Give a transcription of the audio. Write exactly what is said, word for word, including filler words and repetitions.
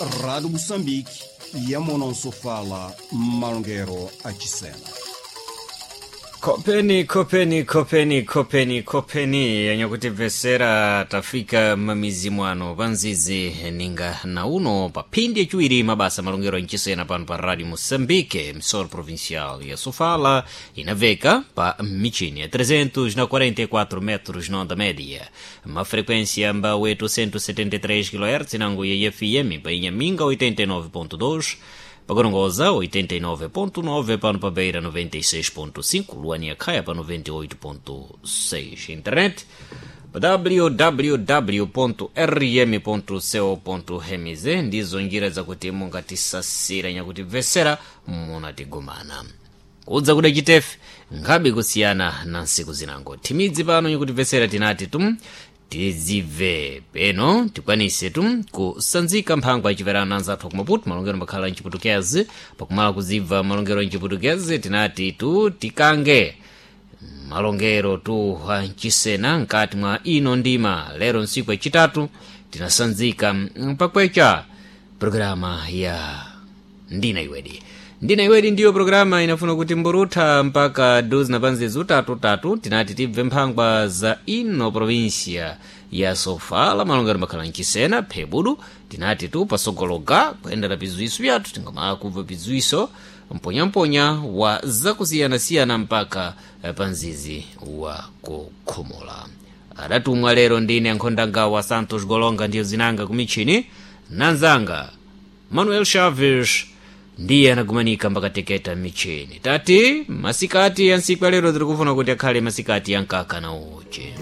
Rádio Moçambique, Yamonosofala, Malongero Achisena. Kopeni, kopeni, kopeni, kopeni, kopeni yanyakutibvesera tafika mamizi mwano panzizi ninga na uno pa phindi yaciwiri mabasa malongero anchisena pano pa radio moçambique msoro provincial ya sofala inaveka pa michini ya trezentos na quarenta e quatro metros na onda média, ma frequência mba oitocentos e setenta e três kilohertz nango ya F M pa Inhaminga oitenta e nove ponto dois, pagorongoza oitenta e nove ponto nove, pano pa Beira noventa e seis ponto cinco, Luania Khaya pa noventa e oito ponto seis, internet pa w w w ponto r m ponto co ponto m z. Ndizo njira zakuti mungatisasira nyakutimvesera munatigumana kudza kuda chitefe nkhabe kusiyana na nsiku zinango thimidzi pano nyakutimvesera tinati tum tizibve peno tikwanise tu kusanzika mphango achiverana anzathu ku Maputo malongero makhala mchiputukezi. Pakumala kuzibva malongero mchiputukezi tinati tu tikange malongero tu ancisena mkati mwa ino ndima. Lero nsiku yacitatu tinasanzika pakwecha programa ya Ndina Iwedi. Ndina Iwedi ndiyo programa inafuna kuti mburutha mpaka duzi na panzizi utatutatu. Tinati tibve mphangwa za ino provincia ya Sofala malongero makhala mchisena phebudu. Tinati tu pasogologa kuyendera pizuiso vyathu tingamala kubva pizuiso mponyamponya wa zakusiyanasiyana mpaka panzizi wa kukhomola. Adatumwa lero ndine ankhondangawa Santos Golonga, ndiyo zinanga kumichini nanzanga Manuel Chaves ndiye anagumanika mbakateketa michini. Tati masikati ya nsiku ya lero tiri kufuna kuti akhale masikati ya mkaka na uchi.